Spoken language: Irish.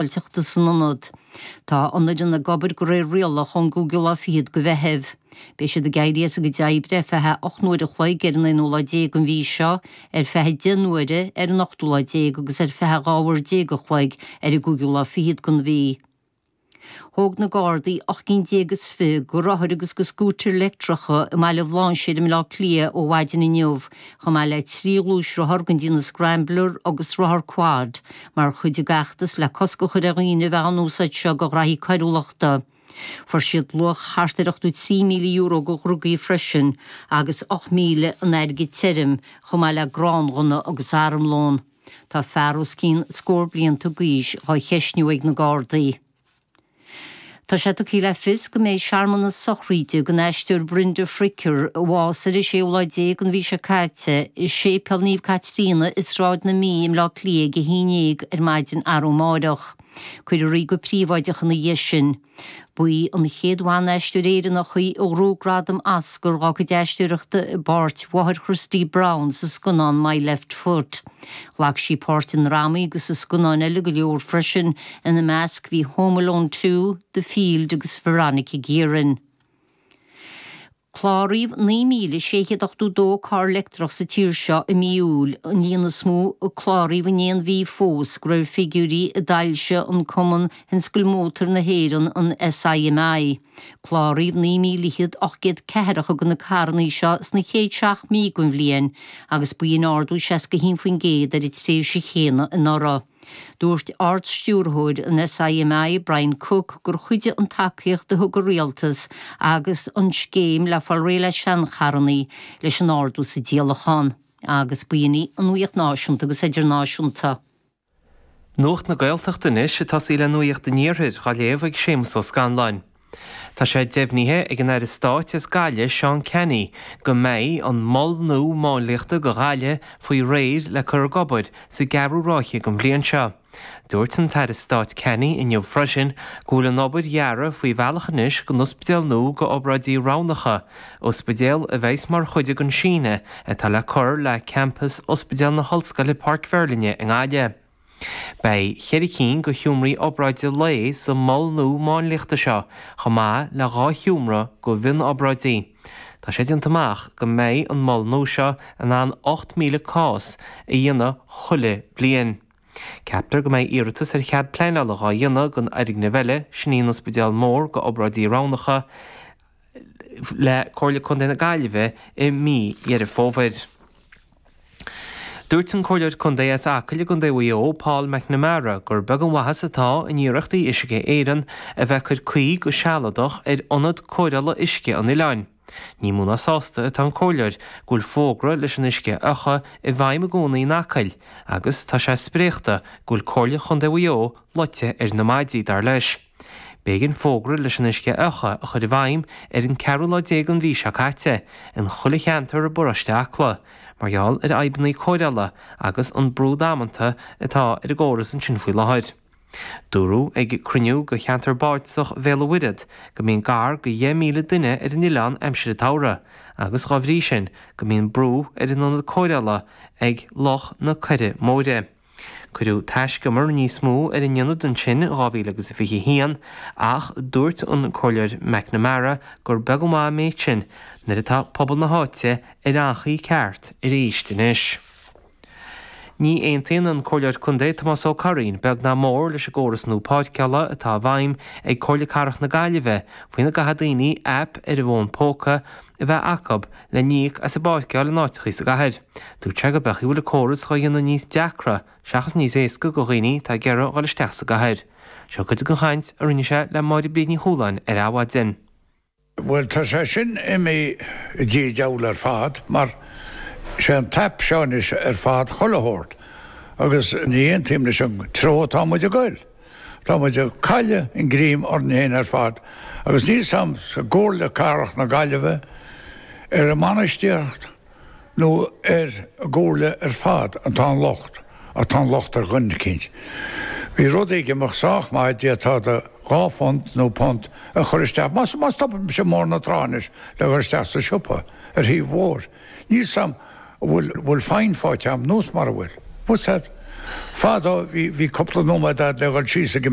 Sábháilteachta san ionad. Tá an fhoireann ag obair de réir rialach ón gcúigiú lá fichead de Mheitheamh. Beidh siad ag éirí as a gcuid oibre ar feadh a 8 n-uair a chloig ar an aonú lá déag den mhí seo, ar feadh 10 n-uaire ar an ochtú lá déag agus ar feadh 12 uair a chloig ar an gcúigiú lá fichead den mhí. Thóg na Gardaí 18 gcinn is 20 de rothair agus de scútair leictreacha i mBaile Bhlainséir i mBleá Cliath ó mhaidin inniu, chomh maith le 3 ghluaisrothar den déanamh Scrambler agus rothar Quad, mar chuid den fheachtas le cosc a chur ar dhaoine a bheith á n-úsáid seo do ghraithí coiriúlachta. Fuair siad luach thart ar €83,000 de dhrugaí freisin agus 8,000 in airgead tirim, chomh maith le gránghunna agus armlón. Tá fear os cionn scór blianta d'aois dhá cheistniú ag na Gardaí. Tá sé tugtha le fios go mbeidh searmanas sochraíde don aisteoir Brenda Fricker, a bhásaigh ar an séú lá déag den mhí seo caite, i Séipéal Naomh Caitríona i Sráid na Mí i mBleá Cliath ag a haon dhéag ar maidin arú amáireach. Cuirfear í go príobháideach ina dhiaidh sin. Ba í an chéad bhan-aisteoir Éireannach í a ghnóthaigh gradam Oscar dá cuid aisteoireachta i bpáirt mháthair Christy Brown sa scannán My Left Foot. Ghlac sí páirt i ndrámaí agus i scannáin eile go leor freisin, ina measc bhí Home Alone 2, The Field agus Veronica Guerin. Cláraíodh 9,682 carr leictreach sa tír seo i mí Iúil, an líon is mó a cláraíodh in aon mhí fós, de réir figiúirí a d'fhoilsigh an Cumann Thionscail Mótar na hÉireann, an SIMI. Cláraíodh 9,800 ceathracha de na carranna seo sna chéad seacht mí den bhliain, agus b'in ardú 61% ar an tréimhse chéanna anuraidh. Dúirt Ard-Stiúrthóir an SIMI, Brian Cooke, gur chuidigh an tacaíocht a thug an Rialtas agus an scéim le fáil réidh le seancharranna leis an ardú sa díolachán. Agus b'in í an nuaíocht náisiúnta agus idirnáisiúnta. Nuacht na Gaeltachta anois, ag tosaí le Nuacht an Iarthair, dhá léamh ag Séamus Ó Scanláin. Tá sé deimhnithe ag an Aire Stáit as Gaillimh, Seán Canney, go mbeidh an mol nua máinliachta do Ghaillimh faoi réir le cur ag obair sa gceathrú ráithe den bhliain seo. Dúirt an tAire Stáit Canney inniu freisin go bhfuil an obair dhearaidh faoi bhealach anois don ospidéal nua do obráidí roghnacha, ospidéal a bheas mar chuid den síneadh atá le cur le campas Ospidéal na hOllscoile Páirc Mheirlinne i nGaillimh. Beidh cheithre cinn de sheomraí obráide lae sa mol nua máinliachta seo, chomh maith le 2 sheomra do mhionobráidí. Tá sé déanta amach go mbeidh an mol nua seo in ann 8,000 cás a dhéanamh chuile bliain. Ceaptar go mbeidh iarratas ar chead pleanála dhá dhéanamh don fhoirgneamh eile, sin í an ospidéal mór do obráidí roghnacha, le Comhairle Contae na Gaillimhe i mí Dheireadh Fómhair. Dúirt an Comhairleoir Contae as Acaill i gContae Mhaigh Eo, Paul McNamara, gur beag an mhaitheas atá in iarrachtaí Uisce Éireann a bheith ag cur caoi go sealadach ar ionad cóireála uisce an oileáin. Ní mó ná sásta atá an Comhairleoir go bhfuil fógra leis an uisce a fhiuchadh i bhfeidhm i gcónaí in Acaill agus tá sé spréachta go bhfuil Comhairle Chontae Mhaigh Eo loite ar na maidí, dar leis. B'éigean fógra leis an uisce a fhiuchadh a chur i bhfeidhm ar an ceathrú lá déag den mhí seo caite in chuile cheantar i bparóiste Acla mar gheall ar fhadhbanna cóireála agus an brú damanta atá ar an gcóras ansin faoi láthair. Dúradh ag cruinniú de cheantar bardasach Bhéal an Mhuirthead go mbíonn gar do 10,000 duine ar an oileán aimsir an tsamhraidh agus dhá bhrí sin go mbíonn brú ar an ionad cóireála ag Loch na Coirre Móire. Cuireadh taiscumar níos mó ar an ionad ansin in 2021 ach dúirt an Comhairleoir McNamara gur beag an mhaith an méid sin nuair atá pobal na háite ar anchaoi ceart arís anois. Ní aontaíonn an Comhairleoir Contae Tomás Ó Curraoin beag ná mór leis an gcóras nua páirceála atá i bhfeidhm ag Comhairle Cathrach na Gaillimhe faoina gcaithfidh daoine aip ar a bhfón póca a bheith acu le n-íoc as a bpáirceáil in áiteachaí sa gcathair. Dúirt sé go beag a bhfuil an córas dhá dhéanamh níos deacra seachas níos éasca go dhaoine atá ag iarraidh dhul isteach sa gcathair. Seo cuid den chaint a rinne sé le Máire Bríd Ní Chualáin ar Adhmhaidin. Bhuel, tá sé sin imithe i dtí an diabhal ar fad, mar sé an t-aip seo anois ar fad chuile shórt, agus ní aontaím leis an treo atá muid ag goil. Tá muid ag cailleadh an greim orainn féin ar fad agus níl 's a'm sa gComhairle Cathrach na Gaillimhe, ar an mbainistíocht nó ar an gComhairle ar fad atá an locht, ach tá an locht ar dhuine eicínt. Bhí rud ag imeacht sách maith, d'fhéadfá do £2 nó punt a chur isteach, má stopann mise i mBóthar na Trá anois le dhul isteach sa siopa ar thaobh an bhóthair, Níl 's a'm an bhfuil bhfuil fine faighte a'm nós mar a bhfuil. What's that? Fadó bhí, bhí cúpla nóiméad a'd le dhul síos ag an.